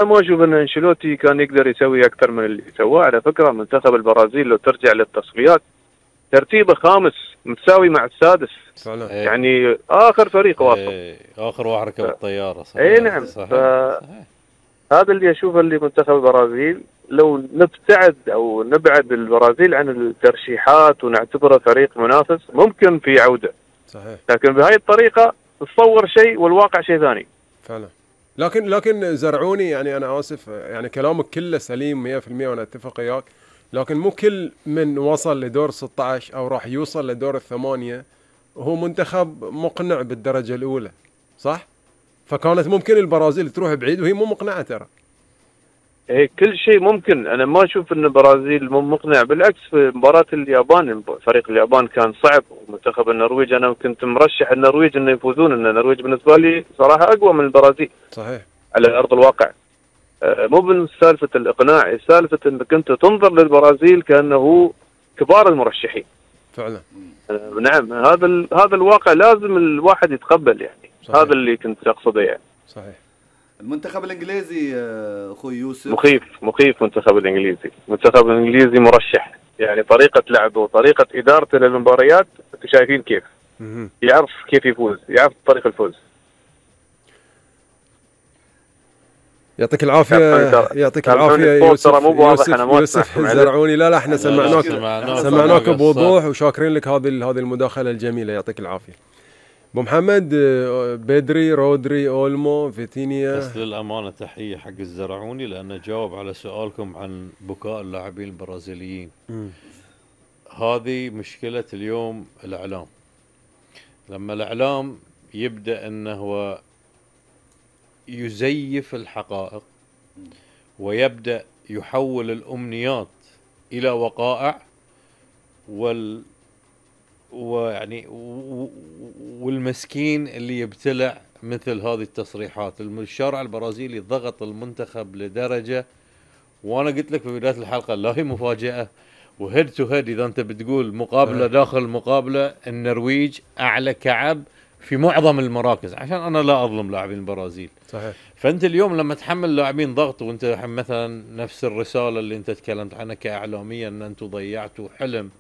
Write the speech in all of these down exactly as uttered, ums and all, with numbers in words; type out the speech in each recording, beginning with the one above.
ما اشوف ان انشيلوتي كان يقدر يسوي اكثر من اللي سواه. على فكره منتخب البرازيل لو ترجع للتصفيات ترتيبه خامس متساوي مع السادس فعلا. يعني اخر فريق واصل، ايه اخر واحد ركب الطياره. صحيح. اي نعم. صحيح. ف... صحيح. هذا اللي اشوفه اللي منتخب البرازيل لو نبتعد او نبعد البرازيل عن الترشيحات ونعتبره فريق منافس ممكن في عوده. صحيح. لكن بهاي الطريقه تصور شيء والواقع شيء ثاني. فعلا. لكن لكن زرعوني يعني انا اسف يعني كلامك كله سليم مية بالمية وانا اتفق وياك، لكن مو كل من وصل لدور ستة عشر او راح يوصل لدور الثمانية وهو منتخب مقنع بالدرجة الاولى، صح؟ فكانت ممكن البرازيل تروح بعيد وهي مو مقنعة ترى. ايه كل شيء ممكن. انا ما اشوف ان البرازيل مو مقنع، بالعكس في مباراة اليابان فريق اليابان كان صعب، ومنتخب النرويج انا كنت مرشح النرويج انه يفوزون، ان النرويج بالنسبة لي صراحة اقوى من البرازيل. صحيح. على ارض الواقع. آه مو من سالفة الاقناع، سالفة انك انت تنظر للبرازيل كانه كبار المرشحين. فعلا. آه نعم. هذا هذا الواقع لازم الواحد يتقبل يعني. صحيح. هذا اللي كنت اقصده يعني. صحيح. المنتخب الانجليزي اخوي يوسف مخيف مخيف. المنتخب الانجليزي المنتخب الانجليزي مرشح يعني، طريقه لعبه وطريقه ادارته للمباريات انتم شايفين كيف. مم. يعرف كيف يفوز، يعرف طريق الفوز. يعطيك العافيه يعطيك العافيه يوسف. مو واضح انا ما يوسف الزرعوني. لا لا احنا سمعناك سمعناك بوضوح وشاكرين لك هذه هذه المداخله الجميله. يعطيك العافيه ابو محمد. بدري، رودري، اولمو، فيتينيا. بس للامانه تحيه حق الزرعوني لانه جاوب على سؤالكم عن بكاء اللاعبين البرازيليين. م. هذه مشكله اليوم الاعلام. لما الاعلام يبدا انه هو يزيف الحقائق ويبدا يحول الامنيات الى وقائع وال ويعني والمسكين اللي يبتلع مثل هذه التصريحات. الشارع البرازيلي ضغط المنتخب لدرجة، وانا قلت لك في بداية الحلقة لا هي مفاجأة وهيد تو هيد. اذا انت بتقول مقابلة داخل مقابلة، النرويج اعلى كعب في معظم المراكز، عشان انا لا اظلم لاعبين البرازيل. صحيح. فانت اليوم لما تحمل لاعبين ضغط، وانت مثلا نفس الرسالة اللي انت تكلمت عنها كاعلاميا ان انتم ضيعتوا حلم.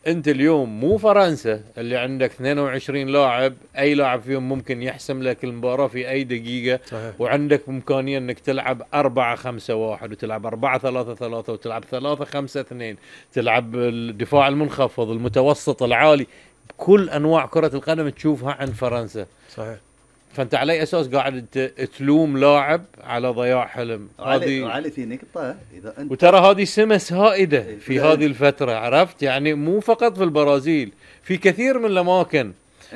انت اليوم مو فرنسا اللي عندك اثنين وعشرين لاعب اي لاعب فيهم ممكن يحسم لك المباراة في اي دقيقة. صحيح. وعندك امكانية انك تلعب أربعة خمسة واحد وتلعب أربعة ثلاثة ثلاثة وتلعب ثلاثة خمسة اثنين، تلعب الدفاع المنخفض المتوسط العالي، كل انواع كرة القدم تشوفها عند فرنسا. صحيح. فانت على اي اساس قاعد تلوم لاعب على ضياع حلم؟ هذه علي في نقطه اذا انت وترى هذه سمس هائده في هذه الفتره، عرفت يعني؟ مو فقط في البرازيل، في كثير من الاماكن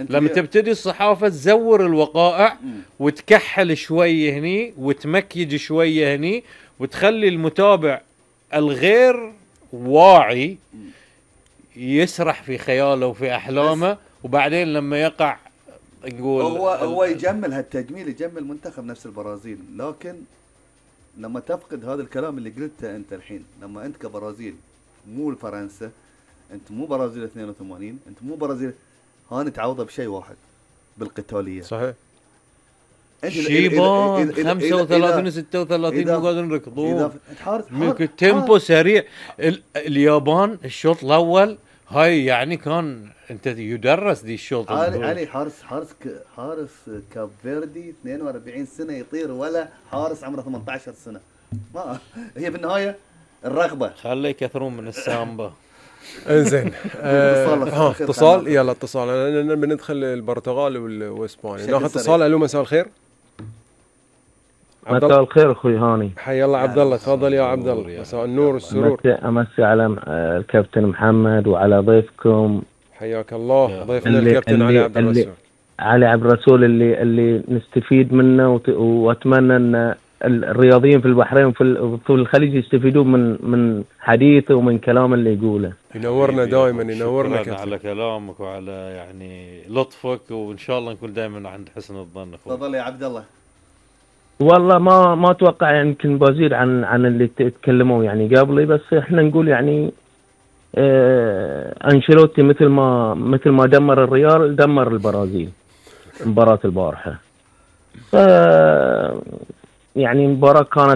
لما تبتدي الصحافه تزور الوقائع م. وتكحل شويه هني وتمكيج شويه هني وتخلي المتابع الغير واعي يسرح في خياله وفي احلامه، وبعدين لما يقع نقول هو هو يجمل هالتجميل، يجمل منتخب نفس البرازيل. لكن لما تفقد هذا الكلام اللي قلته انت الحين، لما انت كبرازيل مو فرنسا، انت مو برازيل اثنين وثمانين، انت مو برازيل، هاني تعوضه بشيء واحد، بالقتاليه. صحيح. شيبان خمسة وثلاثين وستة وثلاثين مو قادرين يركضون، تيمبو سريع. اليابان الشوط الاول هاي يعني كان انت يدرس دي الشوط. علي علي حارس حارس حارس كاب فيردي اثنين وأربعين سنه يطير، ولا حارس عمره ثمانية عشر سنه. ما هي بالنهايه الرغبه. خليه يكثرون من السامبا. انزين. اه اتصال. يلا اتصال. انا بندخل البرتغال واسبانيا. ناخذ اتصال. الو مساء الخير. مساء الخير اخوي هاني. حي الله عبد الله. تفضل يا عبد الله. مساء النور والسرور. امسي على الكابتن محمد وعلى ضيفكم. حياك الله. ضيفنا الكابتن علي عبد الرسول. علي عبد الرسول اللي اللي نستفيد منه، واتمنى ان الرياضيين في البحرين وفي الخليج يستفيدون من من حديثه ومن كلام اللي يقوله. ينورنا دائما. ينورنا كابتن على كلامك وعلى يعني لطفك، وان شاء الله نكون دائما عند حسن الظن اخوي. تفضل يا عبد الله. والله ما ما اتوقع يعني يمكن بزيد عن عن اللي تكلموا يعني قبلي، بس احنا نقول يعني اه انشيلوتي مثل ما مثل ما دمر الريال دمر البرازيل مباراة البارحة. ف يعني مباراة كانت